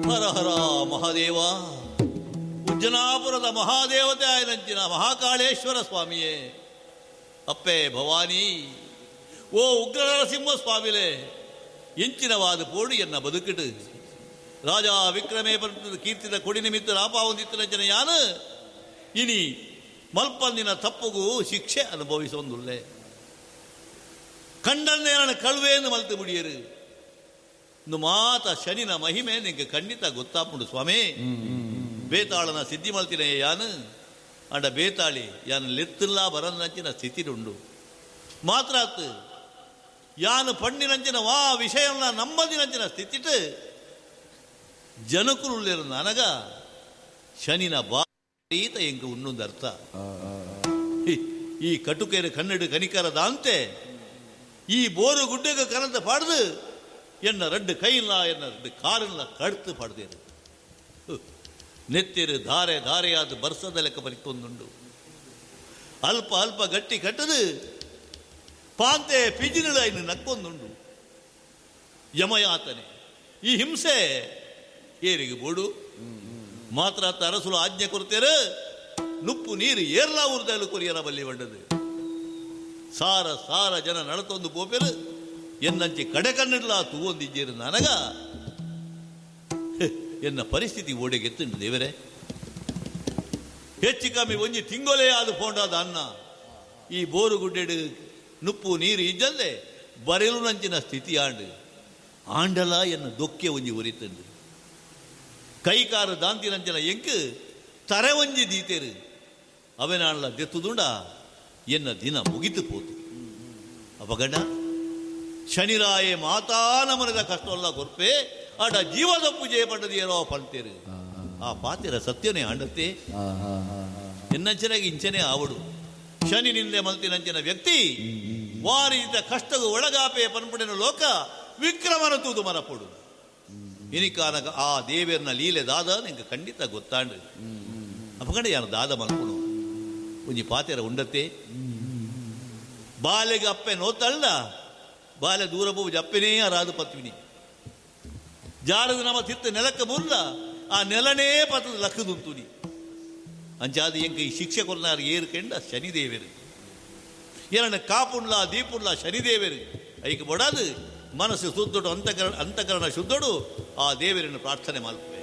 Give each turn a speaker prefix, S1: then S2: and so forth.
S1: ಹರ ಹರ ಮಹಾದೇವ. ಉಜ್ಜನಾಪುರದ ಮಹಾದೇವತೆ ಆಯನಂಚಿನ ಮಹಾಕಾಳೇಶ್ವರ ಸ್ವಾಮಿಯೇ, ಅಪ್ಪೆ ಭವಾನಿ, ಓ ಉಗ್ರ ನರಸಿಂಹ ಸ್ವಾಮಿಲೇ, ಎಂಚಿನವಾದ ಪೋಡು ಎನ್ನ ಬದುಕಿಡು. ರಾಜ ವಿಕ್ರಮೇ ಪಂತದ ಕೀರ್ತಿದ ಕೊಡಿ ನಿಮಿತ್ತ ರಾಪಾವಂದಿತ್ತನಂಚಿನ ಯಾನು ಇನಿ ಮಲ್ಪಂದಿನ ತಪ್ಪುಗೂ ಶಿಕ್ಷೆ ಅನುಭವಿಸೊಂದುಲ್ಲೆ. ಕಂಡನ್ನೇ ನನ್ನ ಕಳುವೇನು ಮಲ್ತು ಮುಡಿಯರು. ಇಂದು ಮಾತ ಶನಿನ ಮಹಿಮೆ ನಿಂಗೆ ಖಂಡಿತ ಗೊತ್ತಾಪುಂಡು ಸ್ವಾಮಿ. ಬೇತಾಳನ ಸಿದ್ಧಿ ಮಲ್ತಿನ ಯಾನು ಅಂಡ ಬೇತಾಳಿ ಯಾನು ಲೆತ್ತಿಲ್ಲ ಬರನ್ನಂಚಿನ ಸ್ಥಿತಿರುಂಡು. ಮಾತ್ರ ಆತು ಯಾನು ಪಣ್ಣಿನಂಚಿನ ವಾ ವಿಷಯನ ನಂಬದಿನಂಚಿನ ಸ್ಥಿತಿಟ್ ಜನಕುಲುಳ್ಳಿರು ನನಗ ಶನಿನ ಬಾರೀತ ಎಂಕ ಉನ್ನೊಂದು ಅರ್ಥ. ಈ ಕಟುಕೆರೆ ಕನ್ನಡ ಕನಿಕರದ ಅಂತೆ ಈ ಬೋರು ಗುಡ್ಡೆಗೆ ಕನಂತ ಪಾಡ್ದು ಎನ್ನ ರಡ್ಡು ಕೈಲ್ಲ ಎನ್ನ ರಡ್ಡು ಕಾರನ್ನ ಕಡ್ತು ಪಾಡ್ದೇರು. ನೆತ್ತಿರು ಧಾರೆ ಧಾರೆಯಾದ ಬರ್ಸದ ಲೆಕ್ಕ ಬರಿತೊಂದುಂಡು. ಅಲ್ಪ ಅಲ್ಪ ಗಟ್ಟಿ ಕಟ್ಟದು ಪಾಂತೆ ಪಿಜಿನುಳ ಇನ್ನು ನಕ್ಕೊಂದುಂಡು. ಯಮಯಾತನೆ ಈ ಹಿಂಸೆ ಏರಿಗೆ ಬೋಡು ಮಾತ್ರ ಅರಸುಲು ಆಜ್ಞೆ ಕೊಡ್ತೇರು. ನುಪ್ಪು ನೀರು ಏರ್ಲಾ ಊರ್ದಲು ಕೊರಿಯರ ಬಲ್ಲಿ ಬಂಡದು. ಸಾರ ಸಾರ ಜನ ನಡತೊಂದು ಪೋಪೆರು ಎನ್ನಂಚಿ ಕಡೆ ಕಣ್ಣಿಡ್ಲ ತೂವೊಂದಿಜ್ಜೇರು ನನಗ ಎನ್ನ ಪರಿಸ್ಥಿತಿ ಓಡೆಗೆತ್ತುಂಡು ದೇವರೇ. ಹೆಚ್ಚು ಕಮ್ಮಿ ಒಂಜಿ ತಿಂಗೊಲೇ ಆದ ಫೋಂಡಾದ ಅನ್ನ ಈ ಬೋರು ಗುಡ್ಡೆಡು ನುಪ್ಪು ನೀರು ಇಜ್ಜಲ್ದೆ ಬರೆಲು ನಂಚಿನ ಸ್ಥಿತಿ ಆಂಡು ಆಂಡಲ ಎನ್ನ ದೊಕ್ಕೆ ಒಂಜಿ ಒರಿತಂಡು. ಕೈಕಾರು ದಾಂತಿನಂಚಿನ ಎಂಕ್ ತರೆ ಒಂಜಿ ದೀತೇರು ಅವೆನಾಳ್ಲ ದೆತ್ತುದುಂಡ ಎನ್ನ ದಿನ ಮುಗಿತು ಪೋತು. ಅಪಗಡ ಶನಿರಾಯೆ ಮಾತಾ ನಮನದ ಕಷ್ಟವಲ್ಲ ಕೊರ್ಪೆ ಆಡ ಜೀವದ ಪೂಜೆ ಪಂಡದಿಯರೋ ಪಂತೇರು. ಆ ಪಾತಿರ ಸತ್ಯನೇ ಆಂಡತ್ತೆ. ಎನ್ನಂಚನಾಗಿ ಇಂಚನೆ ಆವಡು. ಶನಿ ನಿಂದೆ ಮಲ್ತಿನಂಚಿನ ವ್ಯಕ್ತಿ ವಾರಿದ ಕಷ್ಟಗೂ ಒಳಗಾಪೆ ಪನ್ಪಡಿನ ಲೋಕ ವಿಕ್ರಮನ ತೂದು ಮರಪೊಡು. ಇನಿಕಾನಗ ಆ ದೇವೇರ್ನ ಲೀಲೆ ದಾದ ನಿಂಗೆ ಖಂಡಿತ ಗೊತ್ತಾಂಡು. ಅಪಗಂಡ ಯಾರು ದಾದ ಮಲ್ಪಡು ಒಂಜಿ ಪಾತೆರ ಉಂಡತ್ತೆ. ಬಾಲೆಗೆ ಅಪ್ಪೆ ನೋತಳ್ಳ ಬಾಲೆ ದೂರ ಪೋವು ಅಪ್ಪೆನೇ ಅರಾದು ಪತ್ವಿನಿ ಜಾರದು ನಮ್ಮ ತಿತ್ತ ನೆಲಕ್ಕೆ ಬುರ್ಲ ಆ ನೆಲನೇ ಪತ್ತದ ಲಕ್ಕದುಂತುನಿ ಅಂಚಾದ ಎಂಕ ಈ ಶಿಕ್ಷೆ ಕೊರ್ನಾರು ಏರು ಕೆಂಡ ಶನಿದೇವರು ಏನನ್ನ ಕಾಪುಂಡ್ಲ ದೀಪುಂಡ್ಲ ಶನಿದೇವರು ಐಕ್ ಬಡಾದು ಮನಸ್ಸು ಶುದ್ಧಡು ಅಂತಕರಣ ಅಂತಕರಣ ಶುದ್ಧಡು ಆ ದೇವರನ್ನು ಪ್ರಾರ್ಥನೆ ಮಲ್ಪೆ.